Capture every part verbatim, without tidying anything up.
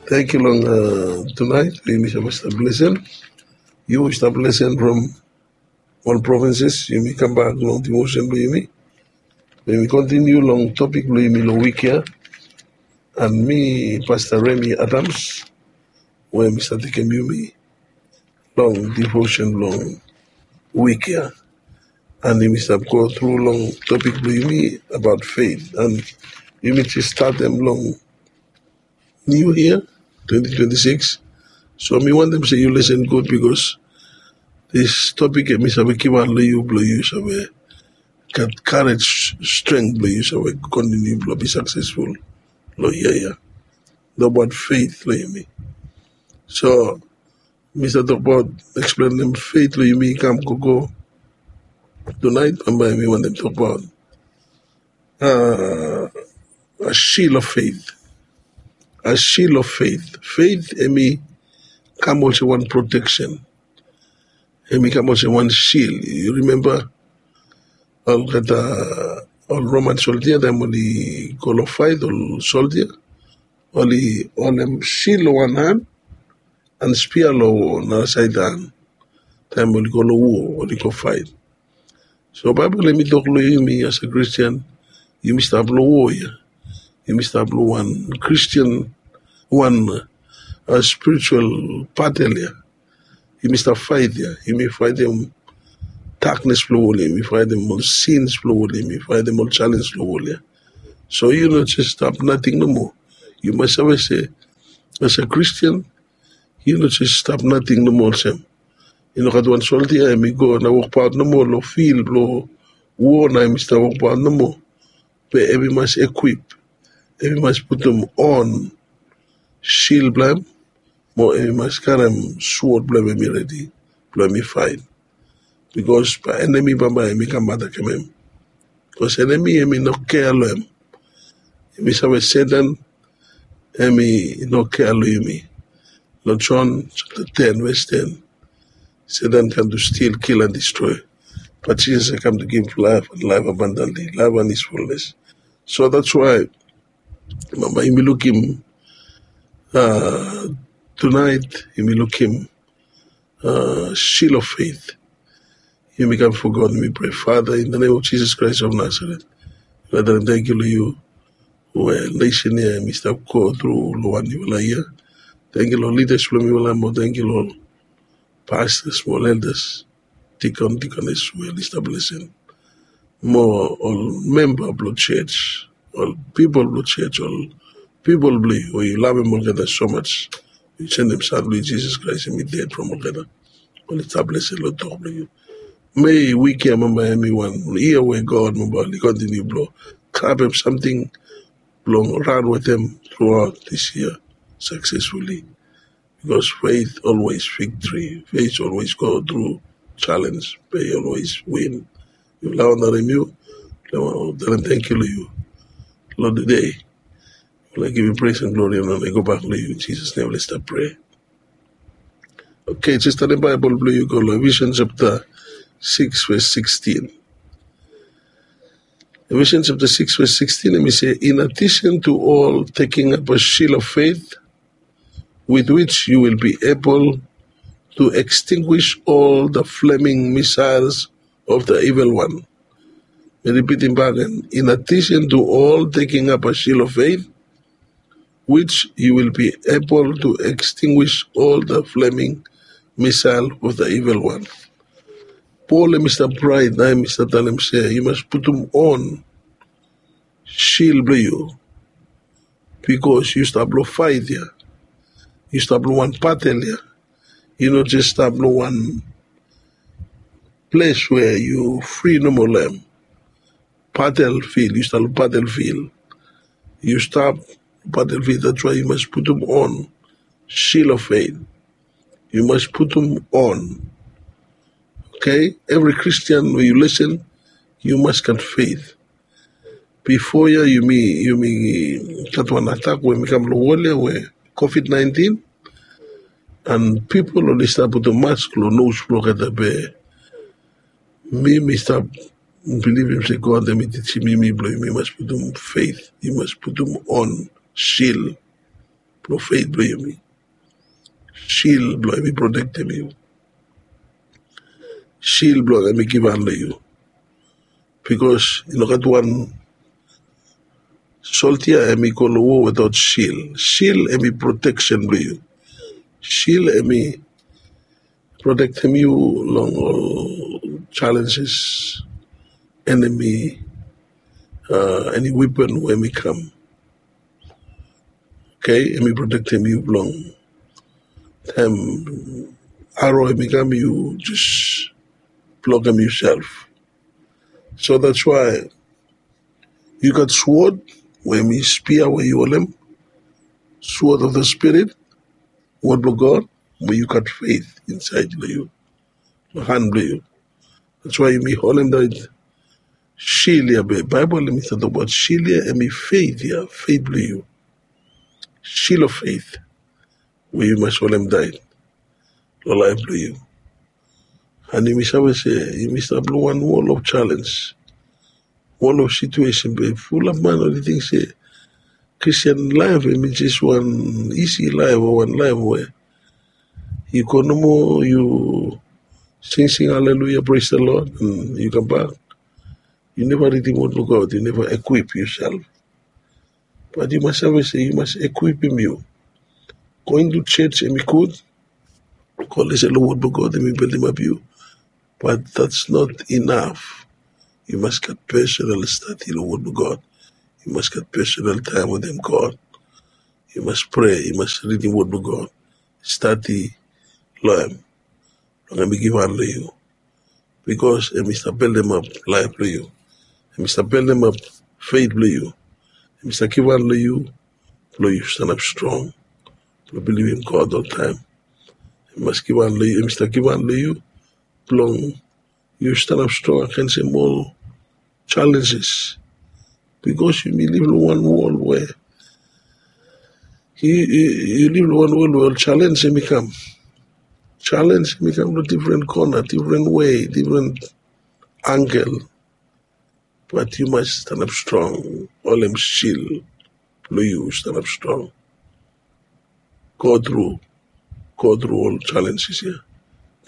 Tangkiu long tunaet we yumi save stap lesen. Yu stap lesen from ol provinces, yumi kambak long devotion blong yumi. Yumi kontiniu long topik blong yumi long wik ya. And mi, Pastor Remy Adams, we mi stap tekem yumi long devotion blong wik ya. And yumi stap go tru long topik blong yumi abaot faith. And yumi jes statem long New Year twenty twenty-six. So mi wantem se yu lesen gud, because this topik ya mi save givaot long yu blong yu save gat courage, strength blong yu save kontiniu blong be successful long yia ya. Abaot faith long yumi. So mi stap tokbaot, eksplenem faith long yumi i kam gogo. Tunaet bambae mi wantem tokbaot a shield of faith. A shield of faith. Faith hemi kam olsem wan protection. Hemi kam olsem wan shield. Yu rimemba olgeta ol Roman soldia, taem oli go long faet, ol soldia oli holem shield long wan han and spia long nara saed han taem oli go long wo, oli go faet. So Baebol hemi tok long yumi as a Christian, yumi stap long wo ya. Yumi stap long wan Christian, wan spiritual battle ya. Yumi stap faet ya. Yumi faetem daknes blong wol ya. Yumi faetem ol sins blong wol ya. Yumi faetem ol challenge blong wol ya. So yu no jes stap nating nomo. Yu mas save se as a Christian, yu no jes stap nating nomo olsem. I no gat wan soldia hemi go na wokbaot nomo long field blong wo na hemi stap wokbaot nomo. Be hemi mas equip, hemi mas putum on shield blong hem, mo hemi mas karem swod blong hem hemi redi blong hemi faet. Bikos bae enemi bambae hemi kam atakem hem. Bikos enemi hemi no kea long hem. Yumi save Satan hemi no kea long yumi. Long John chapter ten verse ten, Satan kam to steal, kill and destroy. But Jesus i kam to give life and life abundantly, life and his fullness. So that's why bambae yumi lukim tunaet, yumi lukim shield of faith. Yumi kam bifo God, yumi prea. Father, in the name of Jesus Christ of Nazareth, mi talem tangkiu long yu we nesen ya hemi stap go tru long wan niufala yia. Tangkiu long lidas blong mifala, mo tangkiu long pastors mo elders, dikon, dikones we oli stap lesen, mo ol memba blong church, ol pipol blong church, ol pipol blong yu we yu lavem olgeta so much. Yu sendem San blong yu Jisas Kraes hemi ded from olgeta. Oli stap lesen long tok blong yu. Mei wik ya bambae hemi wan yia we God bambae oli kontiniu blong grabem samting blong ran wetem truaot dis yia successfully. Bikos faith always victory, faith always go tru challenge, be i always win. Yufala i wantem yu, talem tangkiu long yu long tede. Yufala givim praise and glory and honor i go bak long yu. In Jesus' name, let's start pray. Okay, jes tanem Baebol blong yu go long Ephesians chapter six verse sixteen. Ephesians chapter six verse sixteen, hemi say, in addition to all taking up a shield of faith, with which you will be able to extinguish all the flaming missiles of the evil one. Mi ripitim bak gen. In addition to all taking up a shield of faith, which you will be able to extinguish all the flaming missile of the evil one. Pol hemi stap raet na hemi stap talem se yu mas putum on shield blong yu, bikos yu stap long faet ya. Yu stap long wan batel ya. Yu no jes stap long wan ples we yu fri nomo long hem. Battlefield, yu stap long battlefield. Yu stap battlefield, that's why yu mas putum on shield of faith. Yu mas putum on. Okay, evri Kristian we yu lesen, yu mas gat faith. Bifo ya yumi, yumi gat wan atak we hemi kam long wol ya we COVID nineteen, and pipol oli stap putum mask long nos blong olgeta, be mi, mi stap bilivim se God hemi tijim yumi blong yumi mas putum faith, yu mas putum on shield. blong feit blong yumi. Shil blong hem i protektem yu. Shil blong hem i givhan long yu. Bikos i no gat wan soldia hem i go long wo wetaot shil. Shil hem i proteksen blong yu. Shil hem i protektem yu long ol challenges, enemi, eni weapon we hem i kam. Okay, hem i protektem yu blong taem aro hem i kam, yu jes blokem yusel. So that's why yu gat swod we hem i spia we yu holem, swod of the spirit, wod blong God, we yu gat feit insaed long yu, long han blong yu. That's why yumi holem taet shil ya. Be Baebol hem i stap tokbaot shil ya hem i feit ya, feit blong yu. Shil of feit we yu mas holem taet long laef blong yu. An yumi save se yumi stap long wan wol of chalens, wol of situesen be fulap man oli ting se Kristian laef hem i jes wan isi laef o wan laef we yu go nomo, yu singsing haleluya, praise the Lord, an yu kambak. Yu neva ridim wod blong God, yu neva ekwip yusel. Bat yu mas save se yu mas ekwipim yu. Going to church hem i gud, go lesen long wod blong God hem i bildimap yu. But that's not enough. Yu mas gat personal stadi long wod blong God. Yu mas gat personal taem wetem God. Yu mas prea, yu mas ridim wod blong God, stadi long hem, blong hem i givhan long yu. Bikos hem i stap bildimap laef blong yu. Hem i stap bildimap feit blong yu. Hem i stap givhan long yu blong yu stanap strong, blong bilivim God oltaem. Hem i mas givhan long yu, hem i stap givhan long yu blong yu stanap strong agensem ol challenges. Bikos yumi liv long wan wol we yu liv long wan wol we ol chalens hem i kam. Chalens hem i kam long difren kona, difren wei, difren angle. Bat yu mas stanap strong, holem shil blong yu stanap strong. Go tru, go tru ol chalens ya.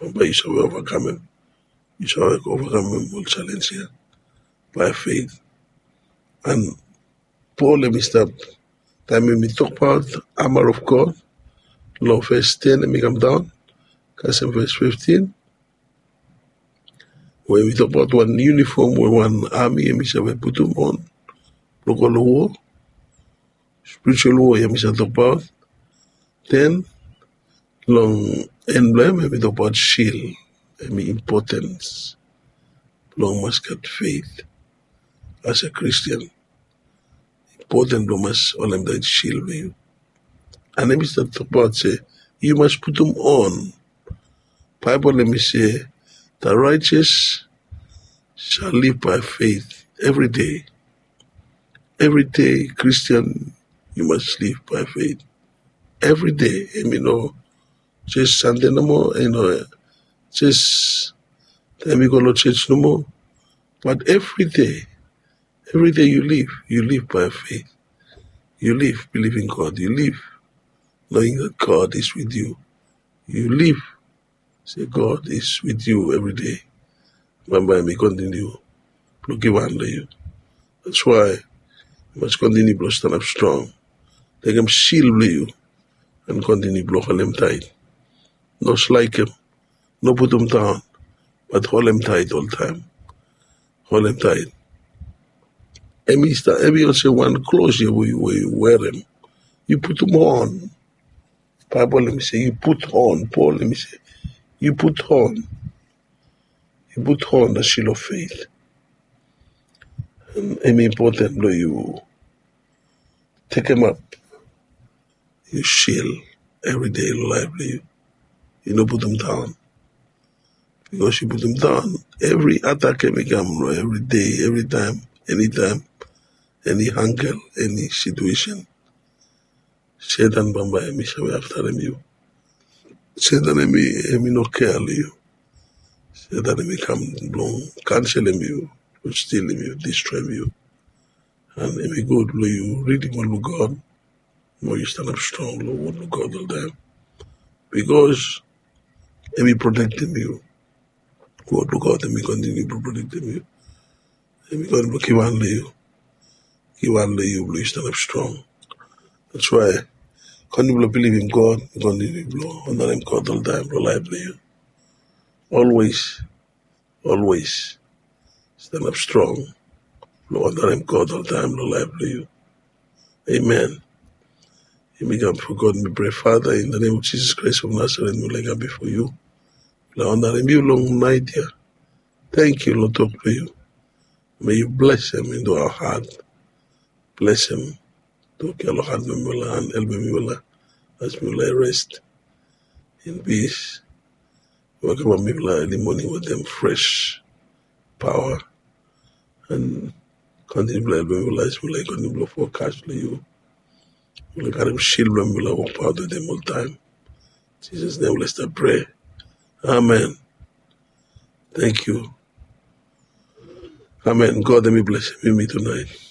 Bambae yu save ovakamem. Yu save ovakamem ol chalens ya bae feit. An Pol hem i stap, taem hem i tokbaot armor of God long ves ten hem i kamdaon kasem ves fiftin, we hem i tokbaot wan yunifom we wan ami hem i save putum on blong go long wo. Spiritual wo ya mi save tokbaot. Den long en blong hem, hem i tokbaot shil. Hem i impotens blong mas gat feit as a Christian. Impoten blong mas holem taet shil blong yu. An hem i stap tokbaot se yu mas putum on. Baebol hem i se, the righteous shall live by faith every day. Every day, Christian, yu mas live by faith. Every day, hem i no jes Sande nomo, yu no jes taem yu go long church nomo, but every day, every day yu live, yu live by faith. Yu live believing God, yu live knowing that God is with you. Yu live se God is with you every day. Bambae hem i kontiniu blong givhan long yu. That's why yu mas kontiniu blong stanap strong. Tekem shil blong yu an kontiniu blong holem taet. No slaekem, no putum daon, bat holem taet oltaem. Holem taet. Hem i stap, hem i olsem wan klos ya we yu werem. Yu putum on. Baebol hem i se yu put on. Pol hem i se yu put on. Yu put on the shield of faith. Hem i impoten blong yu tekemap yu shil evri dei long laef blong yu. Yu no putum daon. Bikos yu putum daon, evri atak hem i kam long evri dei, evri taem, eni taem, eni ankel, eni situesen. Setan bambae hem i save aftarem yu. Setan hem i, hem i no kea long yu. Setan hem i kam blong kanselem yu, blong stilim yu, distroem yu. An hem i gud blong yu ridim wod blong God. mo yu stanap strong long wod blong God oltaem, bikos em i protektem yu. Wod blong God em i kontiniu blong protektem yu. Em i kontiniu blong givhan long yu, givhan long yu blong yu stanap strong. That's why kontiniu blong bilivim God, kontiniu blong onarem God oltaem blong laef blong yu. Always, always stanap strong blong onarem God oltaem long laef blong yu. Amen. Yumi kam bifo God, mi prea, Father, in the name of Jesus Christ of Nazareth, mi laik kam bifo yu blong onarem yu long naet ya. Tangkiu long tok blong yu. May yu blesem into our heart. Blesem tok ya long hat blong mifala and helpem mifala as mifala i rest in peace. Welkamap mifala early morning wetem fresh paoa and kontiniu blong helpem mifala as mifala i kontiniu blong fokas long yu. Mifala karem shil blong mifala wokbaot wetem oltaem. Jisas nem mifala stap prea. Amen. Tangkiu. Amen. God em i blesem yumi tunaet.